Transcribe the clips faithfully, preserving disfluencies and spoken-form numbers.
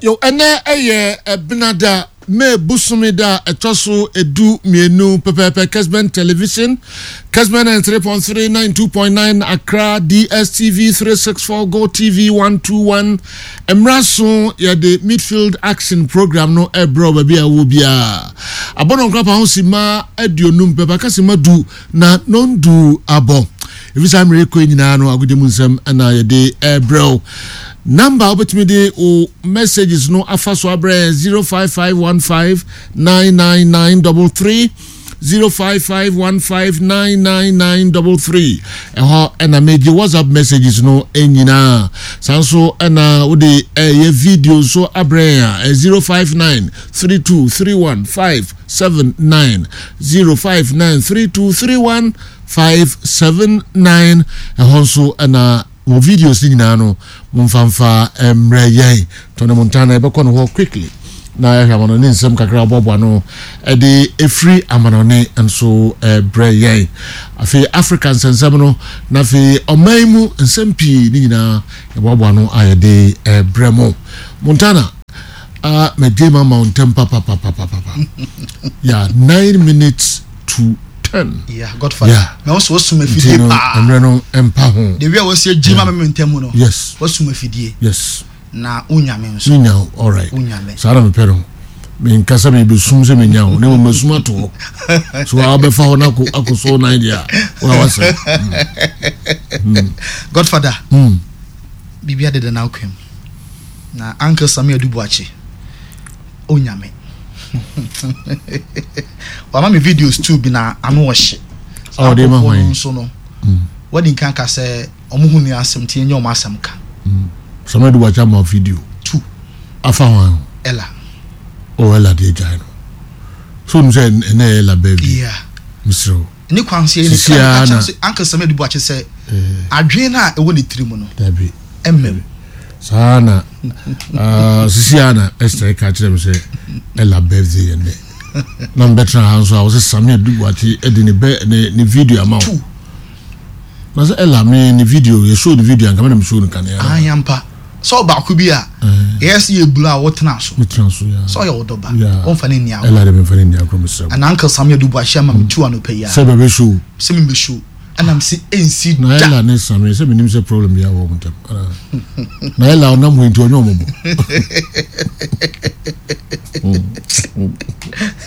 Yo, ɛnɛ ɛyɛ Ɛbenada, May bosome da a ɛtɔ so edu mmienu pɛpɛɛpɛ. Kesben Television, Kesben ninety-three point three, ninety-two point nine Accra, D S T V three six four, Go T V one two one. Mmerɛ so yɛde Midfield Action program no ɛbrɛ baabi a ɛwɔ biara. Abɔnɔ nkorapa ho si ma aduonum pɛpɛ aka si ma du na nondu abɔ. Efi saa mmerɛ kɔ nyinaa no, agodie mu nsɛm ɛna yɛde ɛbrɛ wo. Number a wobɛtumi de wo messages no afa so abrɛ zero five five one five nine nine nine three three, zero five five one five nine nine nine three three. Ɛhɔ ɛna megye WhatsApp messages no nyinaa. Saa nso ɛna wode ɛyɛ video nso abrɛ yɛn a, zero five nine three two three one five seven nine, zero five nine three two three one five seven nine. Ɛhɔ nso ɛna wɔ videos no nyinaa no, momfamfa mmerɛ yɛn. Tɔne Montana yɛbɛkɔ no hɔ quickly na yɛhwɛ amanɔne nsɛm kakra aboaboa no ɛde ɛfiri amanɔne nso ɛbrɛ yɛn. Afei Africa nsɛnsɛm no, na afei ɔman mu nsɛm pii ne nyinaa yɛboaboa no a yɛde ɛbrɛ mo. Montana, uh, magye ma ma wo ntɛm papapapapapa. Yeah, nine minutes to ten. Yeah, Godfather. Yeah. Na wo so wasum nti afidie no paa. Mmerɛ no mpa ho. The way a wɔsi agye ma me ntɛm no. Yes. Wasum afidie. Yes. Na wonyame nso. Menya wo, alright. Wonyame. Saa na mepɛ no. Menkasa mebɛsum sɛ menya wo, na mmom masum ato hɔ so a wobɛfa hɔ no akɔ akɔ so nan deɛ a woa wasɛm. Godfather. Mm. Biribi adeda na akwam. Na Uncle Sami Adu Boakye. Onyame. Wama me videos two bi na ano ɔhye. Ah, ɔde ma Nkurɔfoɔ hwan? no nso no. Wadi nkan ka sɛ ɔmo hu ni asɛm nti ɛnyɛ ɔmo asɛm ka. Sami Adu Boakye ama wo video Two. Afa hwan ho? Ella. Oh, Ella deɛ, gyae no so wonim sɛ ɛnɛ yɛ Ella birthday. Yeah. Mesrɛ wo. Ne kwan so yɛ Sisi ne ara ka na- kyerɛ Uncle Sami Adu Boakye sɛ adwene no a ɛwɔ ne tirim no dabi ɛmmɛm. Saa na ah, sisi ara na Esther ka kyerɛ me sɛ Ella birthday yɛ nnɛ, na mbɛtena ha nso a wɔsɛ Sami Adu Boakye de ne bɛ ne ne video ama wo. Two. Na sɛ Ella me ne video yɛ show ne video anka me na me show no kanea. Ayampa sɛ ɔbaako bi a ɛyɛ sɛ yɛ bulu a wotena so. Metena so ya. Sɛ ɔyɛ wo dɔba, Yeah. wɔmfa ne nni agorɔ. Ella de, memfa ne nni agorɔ, mesrɛ wo. Ɛna Uncle Sami Adu Boakye ama me two anɔpa yi a sɛ bɛbɛ show. Sɛ membɛ show, ɛnam sɛ ɛnsi na da. Ella ne Sami sɛ menim sɛ problem bi awɔ mo ntam. Anaa? Na Ella ɔnam hɔ nti ɔnyɛ ɔmɔbɔ.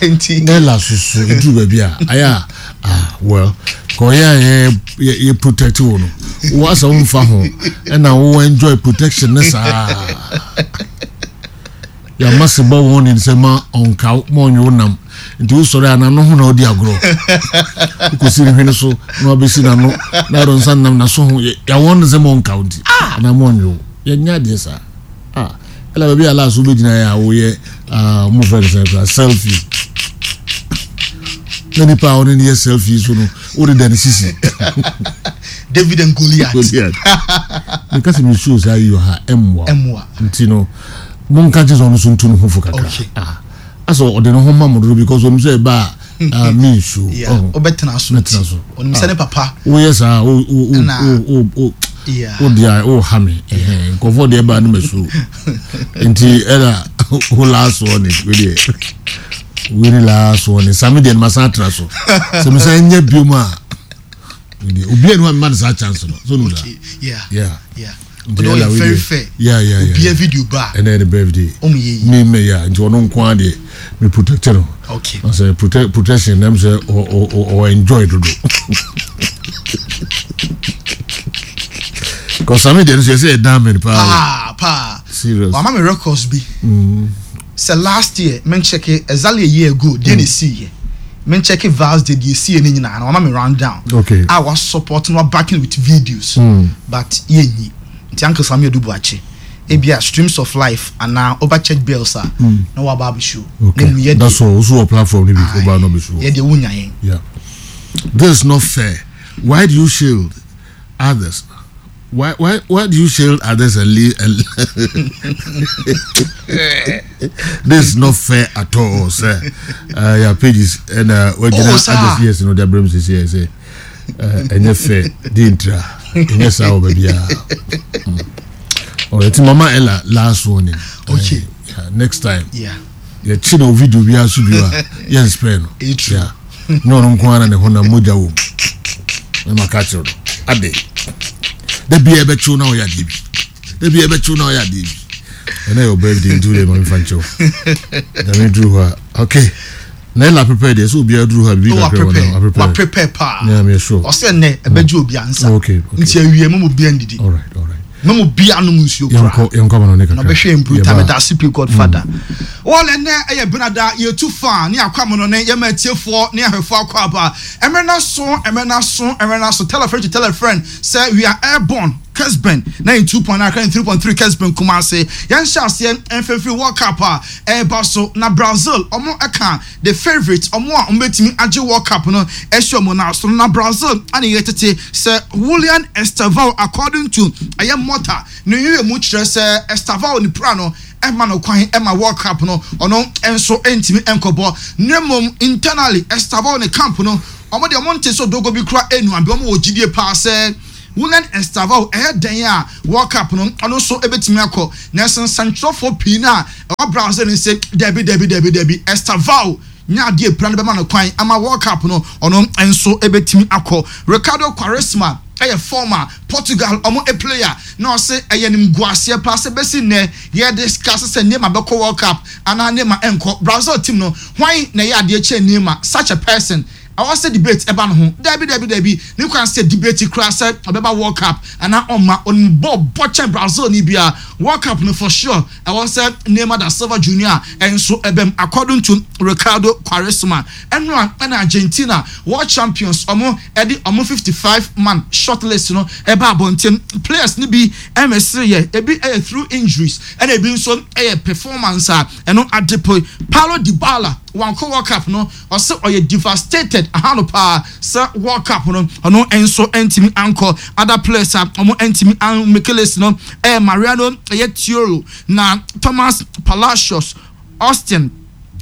Nti na Ella soso ɛduru baabi a ayɛ a, ah, well, ka ɔyɛ a yɛ yɛ yɛ protect wo no, wo asɛ womfa ho ɛna wo enjoy protection ne saa. Yàmà se bɔ wɔn ne nsɛm ma ɔnka ma ɔnwe wo nam nti wosɔre a n'ano ho na ɔdi agorɔ, wokɔsi ne hwene so na wabɛsi n'ano na ɔde nsa nam n'aso ho. Yàwɔn ne sɛ ma ɔnka wo nti anaa ma ɔnwe wo. Yɛnyɛ adeɛ saa. Ah, ɛna baabi a last wobɛgyina yɛ a woyɛ, ah, mo fɛ no sɛ kora selfie na nipa a ɔne ne yɛ selfie so no, wode da ne sisi. David and Goliath. Goliath. Meka sɛ mesuo saa yi wɔ ha, ɛmmoa. Ɛmmoa. Nti no monka kye sɛ ɔno so ntu ne ho fo kakra. Okay. Ah, asɛ ɔde ne ho ma mo dodo because ɔnim sɛ ɛba a, ah, mensuo. Yeah, Ɔho. wobɛtena so. Mɛtena so. Ɔnim sɛ ne papa woyɛ saa, wo wo wo Ɛna- wo wo wo Yeah. wo deɛ wo ha me. Ɛhɛn, nkɔfoɔ deɛ ba no ma suo nti ɛna wo last one wo deɛ, wo ne last one. Sami deɛ no ma san atena so sɛ me san nya biom a, wo deɛ obiara ni wa mma no saa chance no so no da. Okay, yeah. Yeah. Yeah. Nti ɔde ɛna ɔyɛ wo very deɛ- fair. yeah yeah yeah Obia yeah. video ba a, Ɛnɛ yɛ ne birthday. Ɔmo yɛ yi. Me me yeah, nti ɔno nko ara deɛ me protect no. Okay. Ɔsɛ protect protection nam sɛ ɔ ɔ ɔ ɔ enjoy dodo. Cause Sami deɛ no so yɛ sɛ ɛdan mi paa. Paa paa. Serious. Wama me records bi sɛ last year men check exactly a year ago deɛ na esi yɛ, men check Vals de deɛ esi yɛ ne nyinaa na wama me round down. Okay. A wa support na wa backing with videos. But yɛ nyi nti Uncle Sami Adu Boakye, ebia Streams of Life anaa over Church Bells a na waba abɛshow. Okay. Na mu yɛ That's deɛ all. Also, a platform ni bi over no be so. Yɛ deɛ wunya yɛn. Yeah. This is not fair. Why do you shield others? Why why why do you shield others and leave? And this is not fair at all, sir. Uh, your pages and uh, what Oh, sir. Others, yes, no, the brings is here say, uh, and you fair, didn't and yes, I will be. All right, Mama Ella, last warning. Okay. Uh, Next time Yeah. yɛkyi na o video bi aso bi a yɛn spare no. Ɛyɛ true. Yeah. Ne ɔno nko ara na ne ho na mogya wɔ mu. Ɛma ka kyerɛ no ade da bia ɛbɛkyew na ɔyɛ adeɛ bi, da bia ɛbɛkyew na ɔyɛ adeɛ bi. Ɛnɛ yɛ birthday nti wode ma mefa nkyɛw nyame duru hɔ a, okay, na ɛla prepare deɛ sɛ obiara duru hɔ a biribi Wa kakra wɔ prepare. na Wa prepare. prepare paa. Yeah, me sure. Ɔsɛ nnɛ ɛbɛgye obi ansa. Oh, okay, okay. Nti awie mo mo bia ndidi. All right, all right. Mo mo bia nom nsuo koraa. Yɛnkɔ, yɛnkɔ ama no ne Na kakra. ɔbɛhwɛ mprota. Yɛba. Meda ase pii, Godfather. Wɔn ɛnɛ ɛyɛ benada, yɛtu fa ne akɔ amono ne yɛma atiefoɔ ne ahwɛfoɔ akɔ aba. Ɛmɛ na so, ɛmɛ na so, ɛmɛ na so. Tell a friend to tell a friend sɛ we are airborne. Kesben ninety two point nine, three point three, Kesben Kumase. Yɛn hyɛ aseɛ mfimfini World Cup a ɛreba so na Brazil ɔmo ɛka the favourite, ɔmo a ɔmo bɛtumi agye World Cup no ɛhyɛ ɔmo na so na Brazil ana yɛ tete sɛ Willian Estevao, according to ɛyɛ Mota ne yɛ mu kyerɛ sɛ Estevao ne pra no ɛma no kwan ɛma World Cup no ɔno nso ntumi nkɔbɔ, ne mmom internally Estevao ne camp no, ɔmo deɛ ɔmo nte so dogo bi kura enu abi. Ɔmo wɔ gyidie paa sɛ Willian Estevao ɛyɛ dan a World Cup no ɔno nso ebɛtumi akɔ, na nsɛntwerɛfoɔ pii na ɛwɔ Brazil no sɛ dabi, dabi, dabi, dabi, Estevao nya adeɛ pira no bɛma no kwan ama World Cup no ɔno nso ebɛtumi akɔ. Ricardo Quaresma ɛyɛ former Portugal ɔmo a player na ɔsɛ ɛyɛ nimguaseɛ paa sɛ bɛsi nnɛ yɛ discuss sɛ Neymar bɛkɔ World Cup anaa Neymar ɛnkɔ. Brazil team no, hwan na ɛyɛ adeɛ kyɛn Neymar? Such a person ɛwɔ sɛ debate ɛba no ho? Dabi, dabi, dabi, ne kwan sɛ debate kura sɛ ɔbɛba World Cup anaa ɔma ɔnbɔ bɔ kyɛn Brazil ni bia. World Cup no for sure ɛwɔ sɛ Neymar da Silva Junior ɛnso ɛbɛm, according to Ricardo Quaresma. Ɛno a ɛna Argentina, world champions, ɔmo ɛde ɔmo fifty five man shortlist no ɛba abɔnten. Players ni bi ɛmɛsiri yɛ, ebi ɛyɛ through injuries ɛna ebi nso ɛyɛ performance a ɛno adepo. Paulo Dybala wankɔ World Cup no, ɔsɛ ɔyɛ devastated ahano paa sɛ World Cup no ɔno nso ntumi ankɔ. Other players a ɔmo ntumi anmake list no ɛyɛ Mariano ɛyɛ Tioro na Thomas Palacios, Austin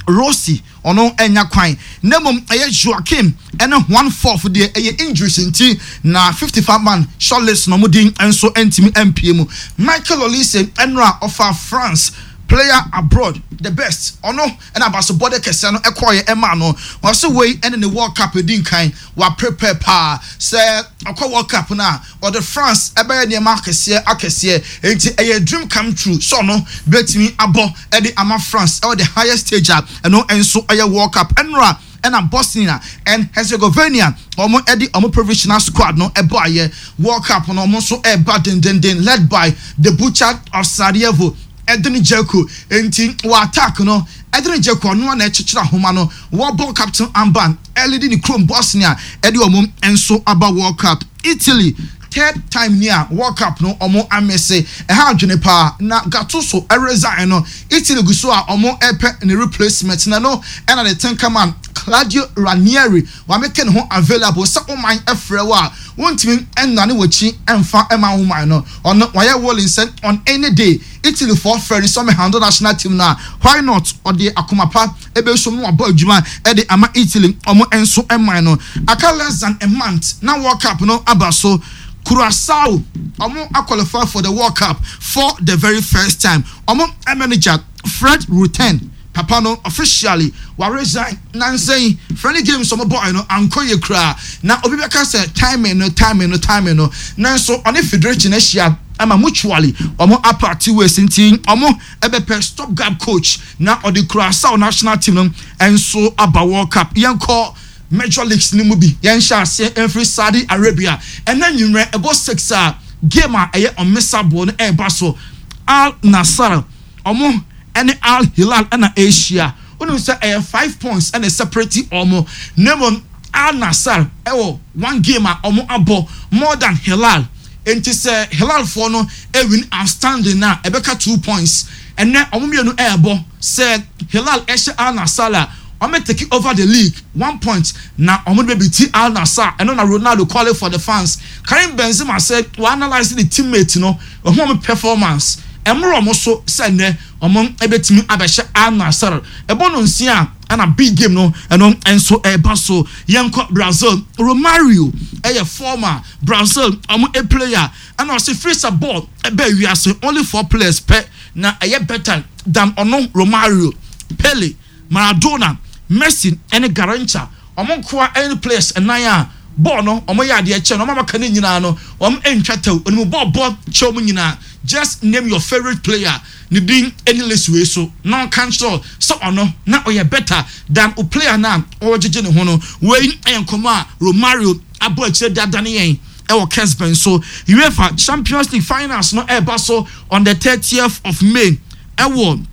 Rossi ɔno ɛnya kwan, na mmom ɛyɛ Joaquin ɛne Juan Foyth deɛ ɛyɛ injuries nti na fifty five man shortlist na ɔmo din nso ntumi mpie mu. Michael Olise ɛnora ɔfa France player abroad the best, ɔno ɛna abasobɔde kɛseɛ no ɛkɔɔyɛ ɛma no. Ɔsɛ wei ɛne ne World Cup edi nkan, wa prepare paa sɛ ɔkɔ World Cup no a ɔde France ɛbɛyɛ nneɛma akɛseɛ akɛseɛ, nti ɛyɛ dream come true sɛ ɔno bɛtumi abɔ ɛde ama France ɛwɔ the highest stage a ɛno nso ɛyɛ World Cup. Ɛnora ɛna Bosnia and Herzegovina wɔn ɛde wɔn provisional squad no ɛbɔ ayɛ World Cup no, wɔn nso ɛreba dendenden, led by the Butcher of Sarajevo, Edin Dzeko. Nti wɔ attack no, Edin Dzeko ɔno na ɛkyekyere ahoma no, wɔbɔ captain armband ɛlead ne kurom Bosnia ɛde wɔn nso aba World Cup. Italy, third time ni a World Cup no ɔmo amese, ɛha adwene paa na Gattuso ɛresign no, Italy gu so a ɔmo ɛpɛ ne replacement na no ɛna ne tinkerman Claudio Ranieri wameke ne ho available sɛ ɔman ɛfrɛ wɔ a wɔntumi ɛnane wɔkyi ɛnfa ɛma ɔman no. Ɔno wayɛ willing sɛ on any day Italy foɔ frɛ no sɛ ɔmɛ handle national team no a, why not? Ɔde akoma pa ɛbɛsom no wabɔ adwuma ɛde ama Italy ɔmo nso ɛman no. Aka less than a month na World Cup no aba so. Curacao ɔmo aqualify for the World Cup for the very first time. Ɔmo manager Fred Rutten papa no officially wa resign. Nansɛn friendly games ɔmo bɔɔ no ankɔ yɛ koraa na obi bɛka sɛ timing no, timing no, timing no, nanso ɔne federation ahyia ama mutually ɔmo apart ways, nti ɔmo ɛbɛpɛ stop gap coach na ɔde Curacao national team no nso aba World Cup. Yɛnkɔ major leagues ni mu bi. Yɛnhyɛ aseɛ mfiri Saudi Arabia. Ɛnɛ nwummerɛ ɛbɔ six a game a ɛyɛ ɔmesabo no ɛreba so, Al Nassr ɔmo ɛne Al Hilal ɛna ahyia. Wonim sɛ ɛyɛ five points ɛna separate ɔmo, na mmom Al Nassr ɛwɔ one game a ɔmo abɔ more than Hilal, nti sɛ Hilalfoɔ no ɛwin outstanding na ɛbɛka two points. Ɛnɛ ɔmo mmienu ɛɛbɔ. Sɛ Hilal ɛhyɛ Al Nassr a, ɔmo take over the league one point na ɔmo de bɛ Al Nassr. Ɛno na Ronaldo calling for the fans. Karim Benzema sɛ wɔ analyse the teammate no, ɔho ɔmo performance ɛmmerɛ ɔmo so sɛ nnɛ ɔmo ɛbɛtumi abɛhyɛ Al Nassr. Ɛbɔ no nsia ɛna big game no ɛno nso ɛɛba so. Yɛnkɔ Brazil. Romario ɛyɛ former Brazil ɔmo a player ɛna ɔsɛ free sɛ ball ɛbɛ wiase, only four players pɛ na ɛyɛ better than ɔno Romario, Pele, Maradona, Messi ɛne Garrincha. Ɔmo nkoa ɛne players ɛnan a bɔɔl no ɔmo yɛ adeɛ kyɛn ɔmo amaka ne nyinaa no. Ɔmo ntwa tɛw onimu bɔɔl bɔ kyɛw mu nyinaa. Just name your favourite player ne din ɛne list wei so na ɔka nkyerɛ sɛ ɔno na ɔyɛ better than o player na ɔgyegye ne ho no. Wei ɛyɛ nkɔmɔ a Romario abɔ akyire dada ne yɛn ɛwɔ Kesben so. UEFA Champions League finals no ɛreba so on the thirtieth of May ɛwɔ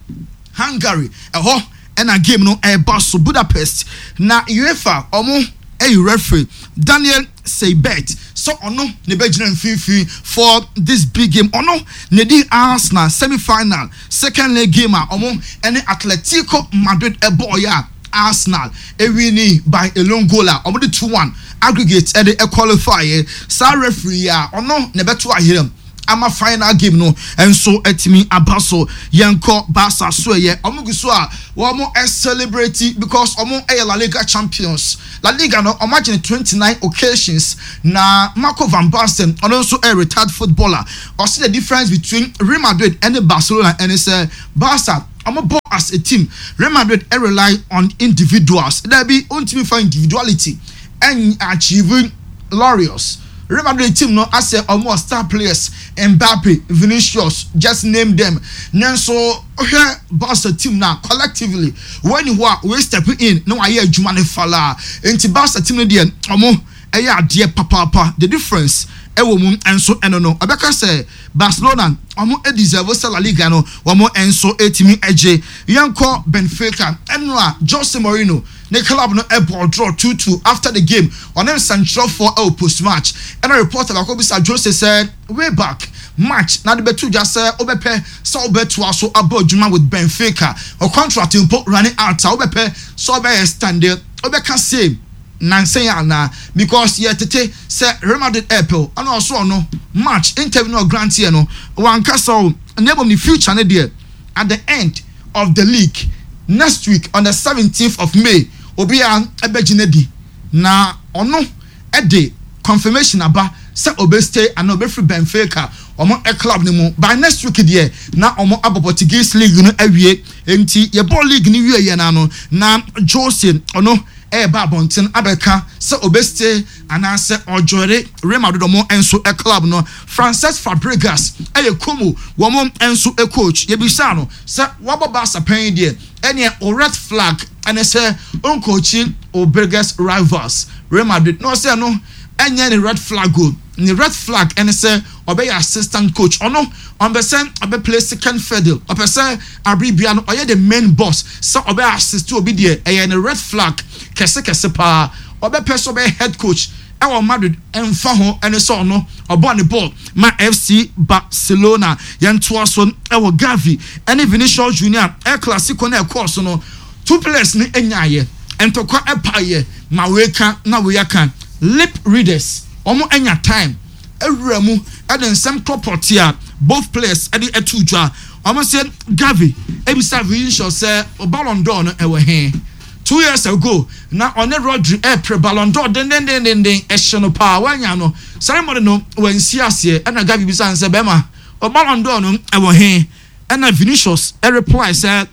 Hungary. Ɛhɔ ɛna game no ɛreba so, Budapest, na UEFA ɔmo ɛyɛ referee Daniel Seibert so ɔno ne bɛgyina mfimfini for this big game. Ɔno ne di Arsenal semi final second leg game a ɔmo ɛne Atletico Madrid ɛbɔɔyɛ a Arsenal ewin by a lone goal a ɔmo de two one aggregate ɛde ɛqualify yɛ. Saa referee a ɔno ne bɛto ayerɛm ama final game no nso atumi aba so. Yɛnkɔ Barca so. Ɛyɛ ɔmo gu so a wɔn celebrate because ɔmo ɛyɛ La Liga champions. La Liga no, ɔmo agye ne twenty nine occasions. Na Marco van Basten, ɔno nso ɛyɛ retired footballer, ɔsi the difference between Real Madrid ɛne Barcelona ɛne sɛ Barca ɔmo bɔ as a team, Real Madrid rely on individuals. Dabi, ontumi fa individuality ɛn achieve laurels. Real Madrid team no asɛ ɔmo star players, Mbappe, Vinicius, just name them, nanso ɔhwɛ Barca team na collectively wɔn ni hɔ a wɔn step in na wɔayɛ adwuma ne fala. Nti Barca team no deɛ, ɔmo ɛyɛ adeɛ papaapa. The difference ɛwɔ mu nso ɛno no ɔbɛka sɛ Barcelona ɔmo deserve sɛ La Liga no wɔn nso etimi ɛgye. Yɛnkɔ Benfica. Ɛno a Jose Mourinho ne club no ɛbɔ draw two two. After the game, ɔne nsɛntwerɛfoɔ ɛwɔ post match, ɛna reporter baako bisa Jose sɛ way back match na de bɛto dwa sɛ wobɛpɛ sɛ wobɛtoa so abɔ adwuma with Benfica, o contract mpo running out a, wobɛpɛ sɛ wobɛyɛ stand, wobɛka same nansɛn ana, because yɛ tete sɛ Real Madrid ɛpɛw. Ɛna ɔso ɔno match interview no ɔgrant yɛ no, wankasa o, na ebom ne future ne deɛ, at the end of the league next week on the seventeenth of May, obiara ɛbɛgyina di na ɔno ɛde confirmation aba sɛ ɔbɛstay ana ɔbɛfiri Benfica ɔmo club no mu. By next week deɛ, na ɔmo abɔ Portuguese league no awie. Nti yɛbɔ league no wie yɛ na no na Jose ɔno ɛɛba abɔnten abɛka sɛ ɔbɛstay anaasɛ ɔjoin Real Madrid ɔmo nso club no. Francesc Fabregas ɛyɛ Como wɔn nso coach. Yɛbisa no sɛ wabɔ Barca pɛn deɛ, ɛneɛ o red flag ɛne sɛ ɔncoachi o biggest rivals Real Madrid, na ɔsɛ no ɛnyɛ ne red flag o. Ne red flag ɛne sɛ ɔbɛyɛ assistant coach. Ɔno ɔmpɛ sɛ ɔbɛ play second fiddle, ɔpɛ sɛ abiribia no ɔyɛ the main boss. Sɛ ɔbɛ assist obi deɛ, ɛyɛ ne red flag kɛse kɛse paa. Ɔbɛpɛ sɛ ɔbɛyɛ head coach ɛwɔ Madrid, ɛnfa ho ɛne sɛ ɔno ɔbɔ ne ball ma F C Barcelona. Yɛntoa so ɛwɔ Gavi ɛne Vinicius Junior. El Clasico na ɛkɔɔ so no, two players ne ɛnyaayɛ ntɔkwa ɛpaayɛ ma wei ka na wei aka. Lip readers wɔn anya time ewura mu ɛde nsɛm tɔpɔte a both players ɛde ɛto dwa. Wɔn sɛ Gavi ebisa Vinicius sɛ Ballon d'Or no ɛwɔ he? Two years ago na ɔne Rodri ɛpere Ballon d'Or dendendendenden, ɛhyɛ no paa, wanya no ceremony no wansi aseɛ. Ɛna Gavi bisa sɛ, bɛrima, o Ballon d'Or no ɛwɔ he? Ɛna Vinicius ɛreply sɛ,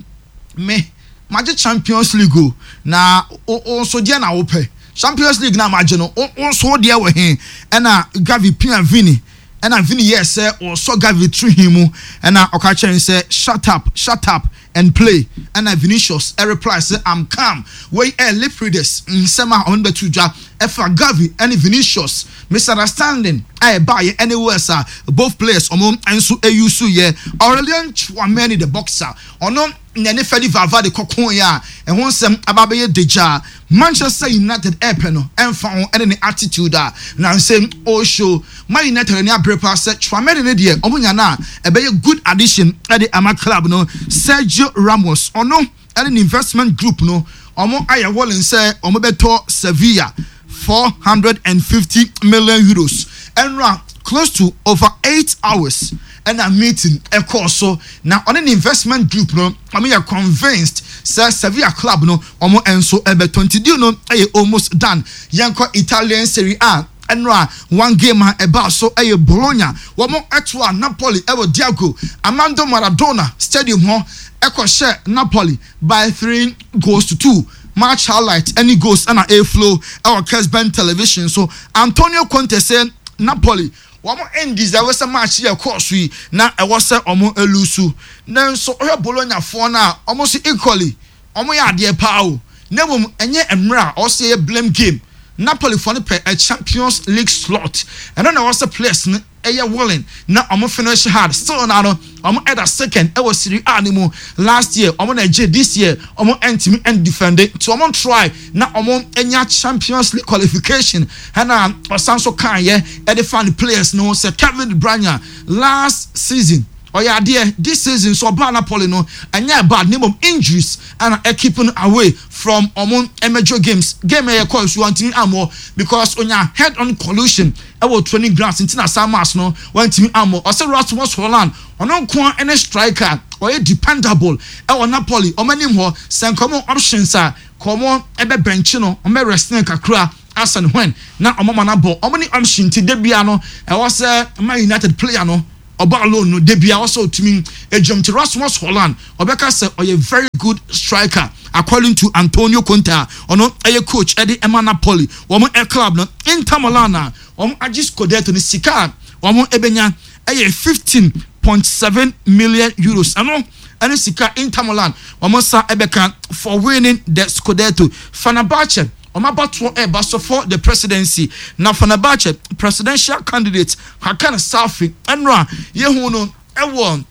me magye Champions League o, na o nso deɛ na wopɛ Champions League na magye no, o nso deɛ wɔ he? Ɛna Gavi pia Vini, ɛna Vini yɛ sɛ ɔsɔ Gavi tiri hin mu, ɛna ɔka kyerɛ no sɛ, "Shut up, shut up and play." Ɛna Vinicius ɛreply sɛ, "I'm calm." Wei ɛ lip readers nsɛm a ɔno bɛto dwa ɛfa Gavi ɛne Vinicius misunderstanding a ɛbaayɛ ɛne words a both players ɔmo nso ɛuse yɛ. Aurelien Tchouameni, the boxer, ɔno na ne Fede Valverde kɔkɔɔ yɛ a ɛho nsɛm aba abɛyɛ degya. Manchester United ɛɛpɛ no, ɛnfa ho ɛne ne attitude a nansɛm ɔreshow. Man United ani abere paa sɛ Tchouameni ne deɛ ɔmo nya no a, ɛbɛyɛ good addition ɛde ama club no. Sergio Ramos, ɔno ɛne ne investment group no, ɔmo ayɛ willing sɛ ɔmo bɛtɔ Sevilla four hundred and fifty million euros. Ɛnura close to over eight hours ɛna meeting ɛkɔɔ so, na ɔne ne investment group no, ɔmo yɛ convinced sɛ Sevilla club no, ɔmo nso ɛbɛtɔ. Nti deal no ɛyɛ almost done. Yɛnkɔ Italian Serie A. Ɛnora one game a ɛbaa so ɛyɛ Bologna, wɔn ɛto a Napoli ɛwɔ Diego Armando Maradona Stadium hɔ, ɛkɔhyɛ Napoli by three goals to two. Match highlight ɛne goals ɛna eflow ɛwɔ Kesben Television so. Antonio Conte sɛ Napoli wɔn ndeserve sɛ match yɛ kɔɔ so yi na ɛwɔ sɛ wɔn elose, nanso ɔhwɛ Bologna foɔ no a, wɔn nso equally wɔn yɛ adeɛ paa o, na mmom ɛnyɛ mmerɛ a ɔsɛ yɛ blame game. Napoli foɔ no pɛ a Champions League slot, ɛno na ɛwɔ sɛ players no ɛyɛ willing na ɔmo finish hard. Still na no ɔmo ɛda second ɛwɔ Serie A ne mu. Last year ɔmo na ɛgye, this year ɔmo ɛntumi ɛndefend, nti ɔmo try na ɔmo ɛnya Champions League qualification. Ɛna ɔsan so kan yɛ ɛde fa ne players no sɛ Kevin De Bruyne last season ɔyɛ adeɛ, this season so ɔbaa Napoli no ɛnyɛ bad, ne mom injuries ɛna ɛkeep no away from ɔmo major games. Game ɛyɛ kɔɔ so wɔntumi amɔ because onya head on collision ɛwɔ training grounds, nti na saa match no wɔntumi amɔ. Ɔsɛ Rasmus Hojlund, ɔno nko ara ɛne striker ɔyɛ dependable ɛwɔ Napoli ɔmo anim hɔ. Sɛ nkɔmɔ options a kɔmɔ ɛbɛ bɛnkye no, ɔmo bɛ rest ne kakra asan when na ɔmo ma na bɔ ɔmo ne option, ti debia no ɛwɔ sɛ Man United player no ɔba alone no, debia ɔsɛ otumi edwam. Ti Rasmus Hojlund ɔbɛka sɛ ɔyɛ very good striker according to Antonio Conte a ɔno ɛyɛ coach ɛde ɛma Napoli wɔn ɛ club no. Inter Milan a wɔn agye Scudetto no, sika a wɔn ɛbɛnya ɛyɛ fifteen point seven million euros. Ɛno ɛne sika Inter Milan wɔn nsa ɛbɛka for winning the Scudetto. Fenerbahce wɔn abatoɔ ɛreba so for the presidency, na Fenerbahce presidential candidate Hakan Safi, ɛno a yehu no ɛwɔ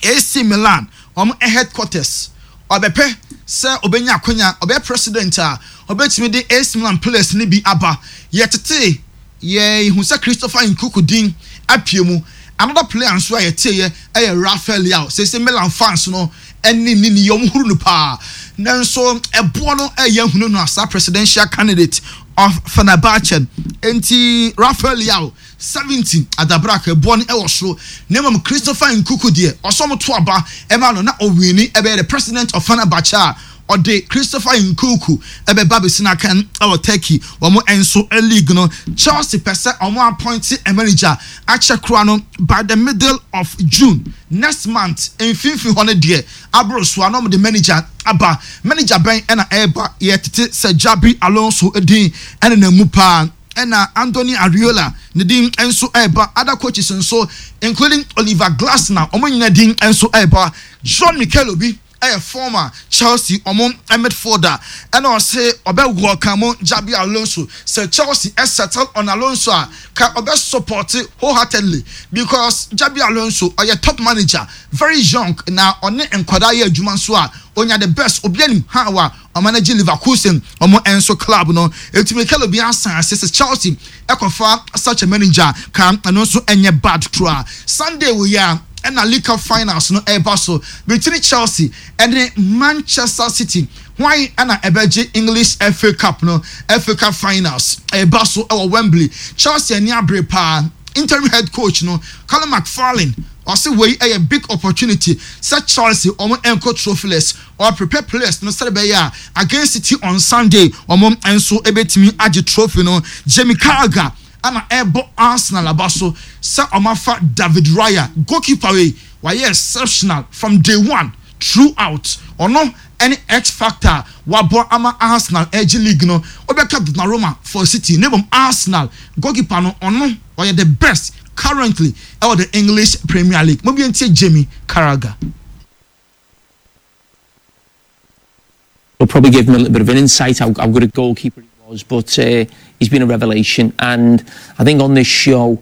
A C Milan wɔn headquarters, ɔbɛpɛ sɛ ɔbɛnya akonya ɔbɛyɛ president a ɔbɛtumi de A C Milan players ne bi aba. Yɛtete yɛhu sɛ Christopher Nkunku din apue mu. Another player nso a yɛte yɛ ɛyɛ Rafael Leao. Sese Milan fans no ɛne ne ni wɔn huru no paa, nanso ɛboɔ no ɛyɛ hunu no asa presidential candidate of Fenerbahce. Nti Rafael Leao seventy adabraka, ɛboɔ no ɛwɔ soro, na mmom Christopher Nkunku deɛ ɔsɔ mo to aba ɛma no na ɔwin ɛbɛyɛ the president of Fenerbahce a ɔde Christopher Nkunku ɛbɛba bɛsi n'akan ɛwɔ Turkey wɔn nso league no. Chelsea pɛ sɛ wɔn appoint a manager akyɛ kora no by the middle of June next month, mfimfini hɔ no deɛ aboro so a na wɔn de manager aba. Manager bɛn ɛna ɛreba? Yɛtete sɛ Xabi Alonso din ɛna na mu paa, ɛna Anthony Ariola ne din nso ɛreba. Other coaches nso including Oliver Glasner, wɔn nyinaa din nso ɛreba. John Mikel Obi ɛyɛ former Chelsea ɔmo midfielder, ɛna ɔse ɔbɛ welcome Xabi Alonso. Sɛ Chelsea ɛsettle on Alonso a, ka ɔbɛ support wholeheartedly because Xabi Alonso ɔyɛ top manager, very young, na ɔne nkwadaa yɛ adwuma nso a onya the best. Obi anim ha wa ɔmanage Leverkusen ɔmo nso club no. Eti Mikel Obi asan ase sɛ Chelsea ɛkɔfa such a manager ka ɛno nso ɛnyɛ bad koraa. Sunday wɔ yi a ɛna League Cup finals no ɛreba so between Chelsea ɛne Manchester City. Hwan ɛna ɛbɛgye English F A Cup no? F A Cup finals ɛreba so ɛwɔ Wembley. Chelsea ani abere paa. Interim head coach no, Callum McFarlane, ɔsɛ wei ɛyɛ big opportunity sɛ Chelsea wɔn ɛnkɔ trophyless or prepare players no sɛde bɛyɛ a against City on Sunday wɔn nso ɛbɛtumi agye trophy no. Jamie Carragher ana ɛbɔ Arsenal aba so sɛ ɔmo afa David Raya. Goalkeeper wei wayɛ exceptional from day one throughout. Ɔno ɛne X factor wabɔ ama Arsenal ɛgye league no. Ɔbɛka Donnarumma for City ne bom Arsenal goalkeeper no, ɔno ɔyɛ the best currently ɛwɔ the English Premier League. Mo bi ntie Jamie Carragher. It'll probably give him a little bit of an insight how, how good a goalkeeper he was, but uh, he's been a revelation. And I think on this show,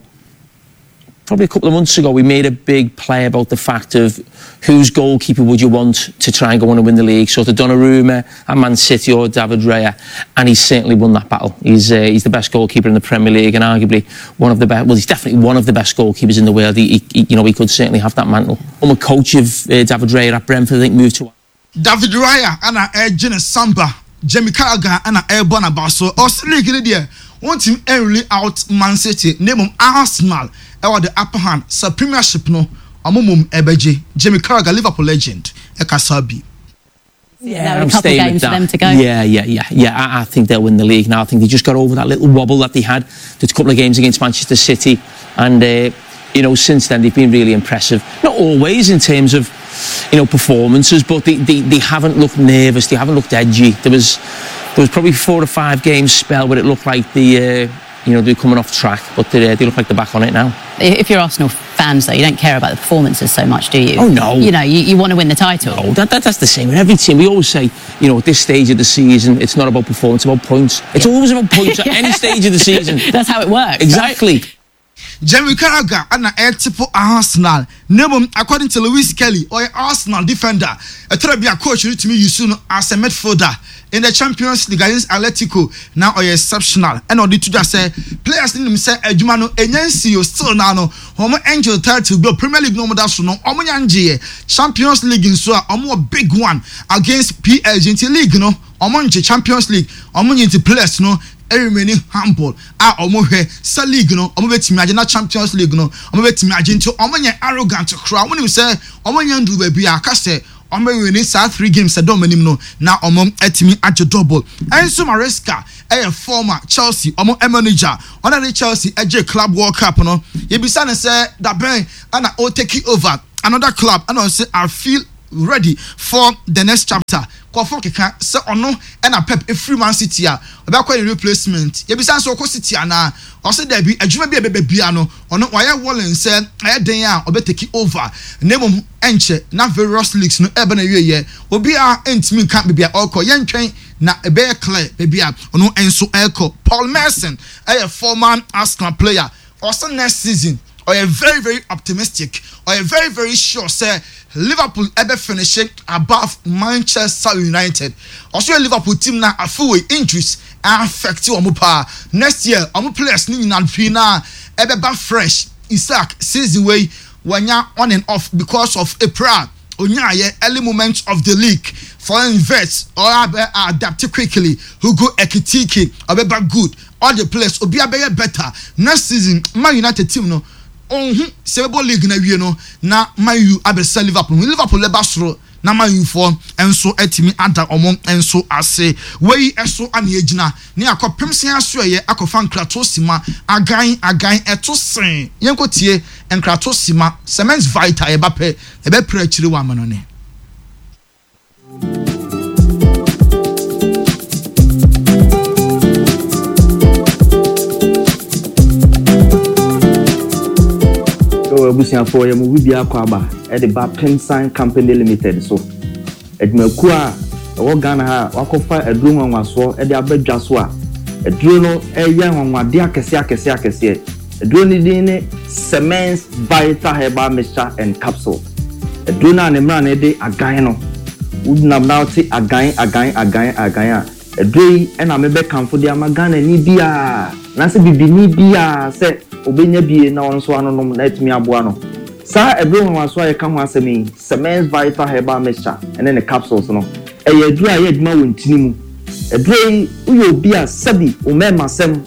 probably a couple of months ago, we made a big play about the fact of whose goalkeeper would you want to try and go on and win the league, sort of Donnarumma at Man City or David Raya, and he's certainly won that battle. He's uh, he's the best goalkeeper in the Premier League and arguably one of the best. Well, he's definitely one of the best goalkeepers in the world. He, he you know, he could certainly have that mantle. I'm a coach of uh, David Raya at Brentford. I think moved to David Raya ana ɛgye ne samba, Jamie Carragher ana ɛrebɔ n'aba so. Ɔsi league ne deɛ wɔntumi ɛnrule out Man City, na mmom Arsenal ɛwɔ the upper hand sɛ Premiership no ɔmo mom ɛbɛgye. Jamie Carragher, Liverpool legend, ɛkasa bi. Yeah, There are I'm a couple staying games with for that. them to go. Yeah, yeah, yeah, yeah. I, I think they'll win the league now. I think they just got over that little wobble that they had. There's a couple of games against Manchester City, and uh, you know, since then they've been really impressive. Not always in terms of you know performances, but they, they, they haven't looked nervous. They haven't looked edgy. There was there was probably four or five games spell where it looked like the uh, you know they're coming off track, but they, uh, they look like they're back on it now. If you're Arsenal fans, though, you don't care about the performances so much, do you? Oh, no. You know, you, you want to win the title. Oh, that, that, that's the same with every team. We always say, you know, at this stage of the season, it's not about performance, it's about points. It's Yeah. always about points at any stage of the season. That's how it works. right? Exactly. Jamie Carragher ana ɛtipo Arsenal na mmom according to Lewis Kelly ɔyɛ Arsenal defender ɛtɔrɔ bi a coach no tumi use no as a midfielder in the Champions League against Atletico na ɔyɛ exceptional ɛna ɔde to dwa sɛ players no nim sɛ adwuma no enya nsi o still na no wɔn angel title bi o Premier League no wɔn da so no wɔn nya ngyeɛ Champions League nso a wɔn wɔ big one against PSG nti league no wɔn ngye Champions League wɔn nye nti players no remain humble a ɔmo hwɛ sɛ league no ɔmo bɛtumi agye na Champions League no ɔmo bɛtumi agye nti ɔmo nyɛ arrogant koraa ɔmo nim sɛ ɔmo nyɛ nduru baabi a aka sɛ ɔmo bɛ win saa three games ɛdɔ ɔmo anim no na ɔmo atumi agye double Enzo Maresca ɛyɛ former Chelsea ɔmo manager ɔno de Chelsea ɛgye Club World Cup no yɛbisa ne sɛ dabɛn ɛna o take over another club ɛna ɔsɛ I feel ready for the next chapter kɔfɔ keka sɛ ɔno ɛna Pep efiri Man City a ɔbɛkɔ ne replacement yɛbisa nso ɔkɔ City anaa ɔsɛ dɛbi adwuma bi a ɛbɛbɛ bia no ɔno wayɛ willing sɛ ɛyɛ den a ɔbɛ take over na mmom ɛnkyɛ na various leagues no ɛbɛ na wie yɛ obiara ntumi nka beebi a ɔrekɔ yɛntwɛn na ɛbɛyɛ clear beebi a ɔno nso ɛrekɔ Paul Merson ɛyɛ former Arsenal player ɔsɛ next season ɔyɛ very very optimistic ɔyɛ very very sure sɛ Liverpool ɛbɛ finish above Manchester United ɔso yɛ Liverpool team na afeewei injuries affect wɔn paa next year wɔn players ne nyinaa pii na ɛbɛba fresh Isak season wei wɔnya on and off because of April onyaayɛ early moment of the league Florian Wirtz ɔabɛ adapt quickly Hugo Ekitike ɔbɛba good all the players obi abɛyɛ better next season Man United team no ɔnhu sɛ ɛbɛbɔ league na wie no na Man U abɛsɛ Liverpool Liverpool lɛba soro na Man U foɔ nso atumi ada ɔmo nso ase wei ɛso ana egyina ne akɔ pemsen aso ɛyɛ akɔfa nkrato sima agan agan ɛto sen yɛn tie nkrato sima cement vita yɛba pɛ ɛbɛpere akyire wɔ ama no ne. abusuafoɔ yɛ mu bi akɔ aba ɛde ba Pemsan Company Limited so adwumakuo a ɛwɔ Ghana ha wakɔfa aduro nwanwasoɔ ɛde aba dwa so a aduro no ɛyɛ nwanwadeɛ akɛseɛ akɛseɛ akɛseɛ aduro no din ne Semens Vital Herbal Mixture and Capsule aduro no a ne mmerɛ no de agan no wonam na wote agan agan agan agan a aduro yi ɛna mebɛkamfo de ama Ghana ni biara anaasɛ bibini biara sɛ obɛnya bie na ɔno nso anonom na atumi aboa no saa aduro nwanwaso a yɛka ho asɛm yi Semens Vital Herbal Mixture ɛne ne capsules no ɛyɛ aduro a ɛyɛ adwuma wɔ ntini mu aduro yi woyɛ obi a sɛbi wo mmarima sɛm